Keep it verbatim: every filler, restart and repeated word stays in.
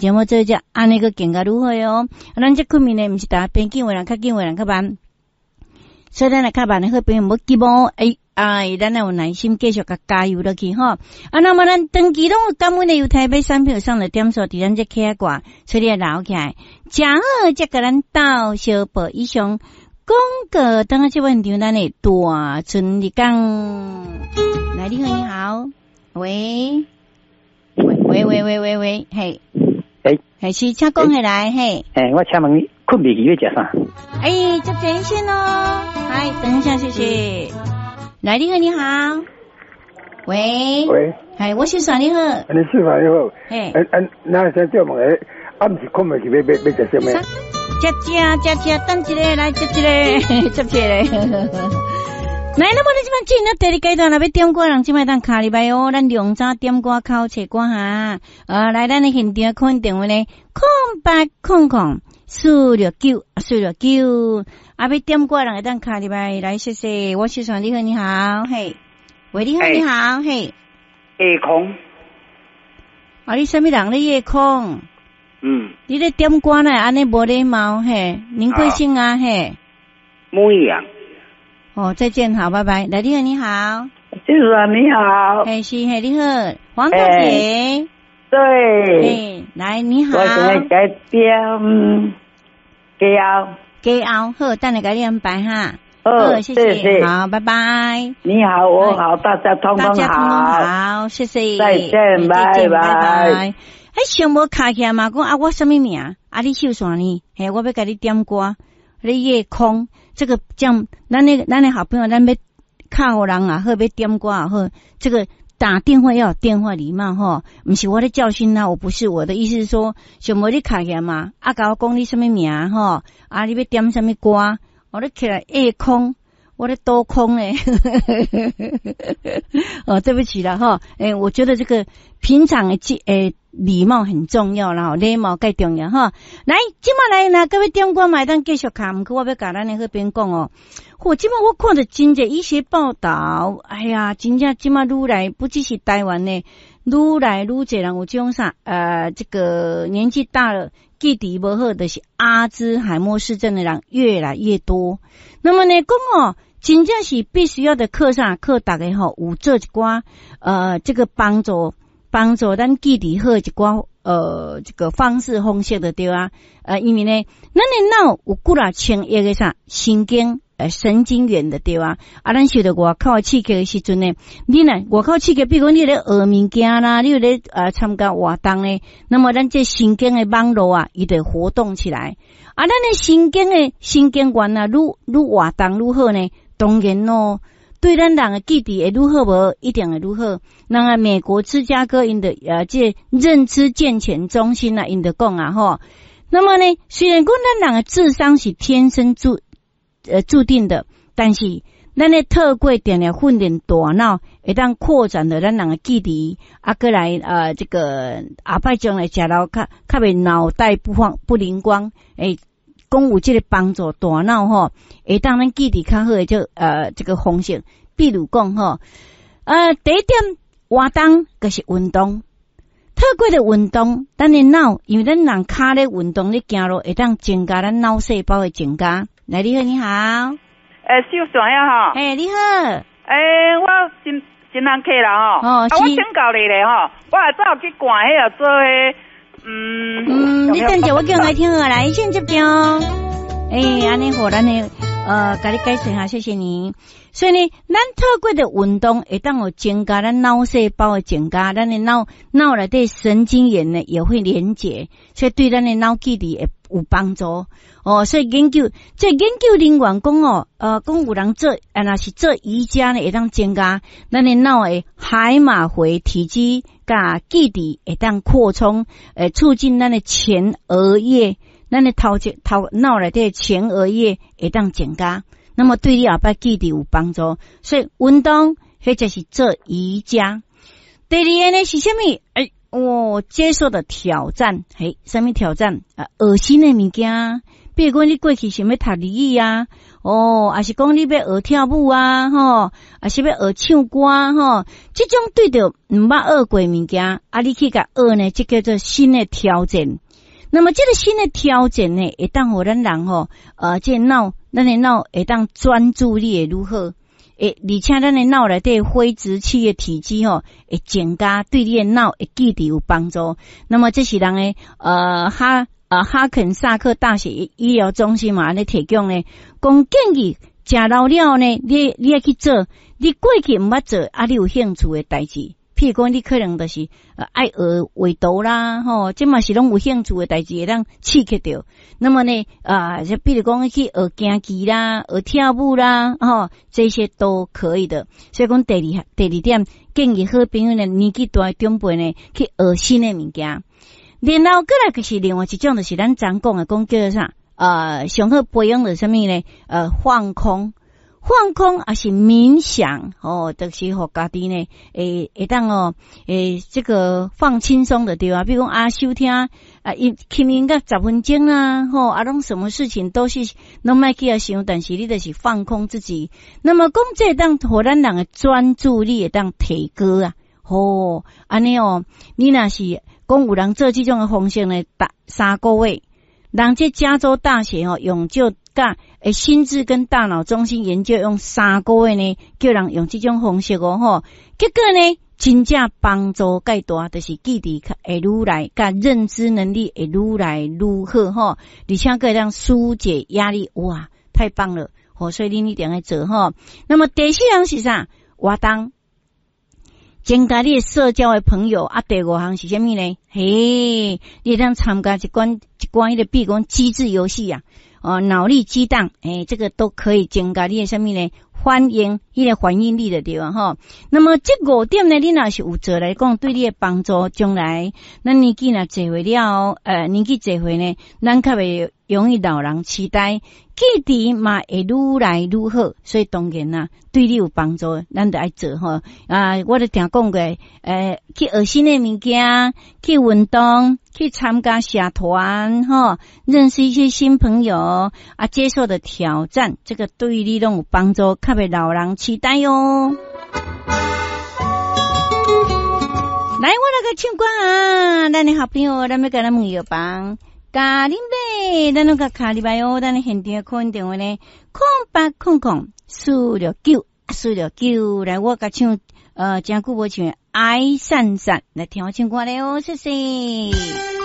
節目做這按呢閣更加愈好哦。咱這睏眠呢，毋是逐邊緊的人較緊的人較慢，所以咱若較慢的好朋友無急哦，欸哎，咱要有耐心繼續共加油落去吼。啊，那麼咱長期攏有感恩的由台北產品送的點數，佇咱這起掛，所以你愛留起來。誠好，才共咱鬥相報。以上廣告，等下這問場咱的大春日講。來，你好，你好，喂，喂喂喂喂喂，嘿，欸，嘿，是，請講起來，嘿。欸，我請問你，睏袂去欲食啥？欸，接電線咯，來，等一下，謝謝。來，你好，你好，喂，喂，係，我是你好，你師傅你好，嘿，欸欸，那先借問下，暗時睏袂去欲欲欲食啥物？食食食食，等一下來接一個，接一個。來，那麼咱這擺進入第二階段，若欲點歌人這擺當敲入來哦，咱兩早點歌口切歌哈。呃，來，咱的現場 call in 電話呢，空八空空四六九四六九，啊，欲點歌人會當敲入來，來，謝謝。我是說，你好，你好，嘿，喂，你好，你好，嘿。夜空。啊，你啥物人咧夜空？嗯。你咧點歌呢？按呢無禮貌，嘿，您貴姓啊？嘿。木易啊。哦，再見，好，拜拜。來，你好，你好。就是啊，你好。嘿，是，嘿，你好，黃小姐。對。嘿，來，你好。我現在在點加油。加油，好，等下共你安排哈。好，謝謝，好，拜拜。你好，我好，大家通通好。大家通通好，謝謝。再見，拜拜。欸，想無敲起來嘛？講啊，我啥物名？啊，你秀啥呢？嘿，我欲共你點歌。你夜空，這個這樣，咱的咱的好朋友，咱欲敲予人也好，欲點歌也好，這個打電話要有電話禮貌吼，毋是我咧教訓他，我不是我的意思是說，想無你敲起來嘛，啊，共我講你啥物名吼，啊，你欲點啥物歌，我咧起來夜空，我咧多空咧，哦，對不起啦吼，欸，我覺得這個平常的這欸禮貌很重要啦，禮貌蓋重要吼。來，這擺來若閣欲點歌嘛會當繼續敲，毋過我欲共咱的好朋友講哦。嚯，這擺我看著真濟醫學報道，哎呀，真正這擺愈來不只是台灣呢，愈來愈濟人有這種啥，呃，這個年紀大了，記憶無好，就是阿茲海默氏症的人越來越多。那麼呢，講哦，真正是必須要的課啥課，逐家吼有做一寡，呃，這個幫助。幫助咱記憶好一寡，呃，這個方式方式就對啊。呃，因為呢，咱的腦有幾若千億个啥神經，呃，神經元的對啊。啊，咱受著外口的刺激的時陣呢，你若外口刺激，比如講你咧學物件啦，你有咧呃參加活動呢，那麼咱這神經的網路啊，伊就活動起來。啊，咱的神經的神經元啊，愈愈活動愈好呢，當然咯。對咱人的記憶會愈好無？一定會愈好。那個美國芝加哥𪜶的呃，這認知健全中心啊，𪜶就講啊吼。那麼呢，雖然講咱人的智商是天生注呃注定的，但是咱咧透過定定訓練大腦，會當擴展著咱人的記憶，啊，閣來呃這個後擺將來食老較較袂腦袋不放不靈光，欸，講有這個幫助大腦吼，會當咱記憶較好的這呃這個方式，比如講吼，呃，第一點活動就是運動，透過的運動，咱的腦，因為咱人跤咧運動咧行路，會當增加咱腦細胞的增加。來，你好，你好。欸，秀璇啊吼。欸，你好。欸，我新新人客啦吼。哦，啊，我請教你咧吼，我下早去看彼個做彼。嗯嗯，你等下我叫來聽好來，先接聽。欸，按呢好，咱的呃，共你解釋下，謝謝你。所以呢，咱透過的運動會當有增加咱腦細胞的增加，咱的腦腦內底神經元呢也會連結，所以對咱的腦記憶會有幫助。哦，所以研究這研究人員講哦，呃，講有人做，啊，若是做瑜伽呢，會當增加咱的腦的海馬迴體積佮記憶會當擴充，呃，促進咱的前額葉，咱的頭前頭腦內底前額葉會當增加，那麼對你後擺記憶有幫助。所以運動或者是做瑜伽。第二个呢是啥物？欸，我接受的挑戰，嘿，啥物挑戰？啊，學新的物件，比如講你過去想欲讀日語啊，哦，抑是講你欲學跳舞啊，吼，抑是欲學唱歌吼，這種對著毋捌學過物件，啊，你去共學呢，這叫做新的挑戰。那麼這個新的挑戰呢，會當予咱人吼，呃，這個腦，咱的腦會當專注力會愈好，會，而且咱的腦內底灰質區的體積吼，會增加，對你的腦會記憶有幫助。那麼這是人的呃哈呃哈肯薩克大學醫療中心嘛，按呢提供呢，講建議食老了呢，你你愛去做，你過去毋捌做，啊，你有興趣的代誌。譬如講，你可能就是愛學畫圖啦，吼，這嘛是攏有興趣的代誌，會當刺激著。那麼呢，啊，就比如講去學行棋啦，學跳舞啦，吼，這些都可以的。所以講，第二第二點建議好朋友呢，年紀大的長輩呢，去學新的物件。然後閣來就是另外一種，就是咱昨講的，講叫做啥？呃，上好培養著啥物呢？呃，放空。放空抑是冥想，哦，就是予家己呢，會會當哦，會這個放輕鬆的對啊。比如講啊，收聽啊，一輕音樂十分鐘啊，吼啊，攏什麼事情都是攏莫去遐想，但是你就是放空自己。那麼講這會當予咱人的專注力會當提高啊，吼，按呢哦，你若是講有人做這種的方式呢，逐三個月，人這加州大學哦，用這佮心智跟大腦中心研究用三個月呢，叫人用這種方式哦吼，結果呢，真正幫助蓋大，就是記憶會愈來，佮認知能力會愈來愈好吼，而且閣會當紓解壓力，哇，太棒了！吼，所以恁一定愛做吼。那麼第四項是啥？活動，增加你的社交的朋友啊。第五項是啥物呢？嘿，你會當參加一寡一寡彼個，比如講機智遊戲啊。哦，腦力激盪，欸，這個都可以增加你的啥物呢？反應，彼個反應力的對吧？吼。那麼這五點呢，你若是有做來講，對你的幫助，將來咱年紀若濟歲了後，呃，年紀濟歲呢，咱較袂容易老人痴呆，記憶嘛會愈來愈好，所以當然啦，對你有幫助，咱就愛做吼。啊，我都定講過，呃，去學新的物件，去運動，去參加社團，吼，認識一些新朋友，啊，接受的挑戰，這個對你攏有幫助，較袂老人痴呆喲。來，我來閣唱歌啊！咱的好朋友，咱欲共咱問藥房。共恁買，咱攏共敲入來哦。咱的現場的 call in 電話呢，空八空空四六九四六九。來，我共唱，呃，誠久無唱《愛閃閃》，來聽我唱歌咧哦，謝謝。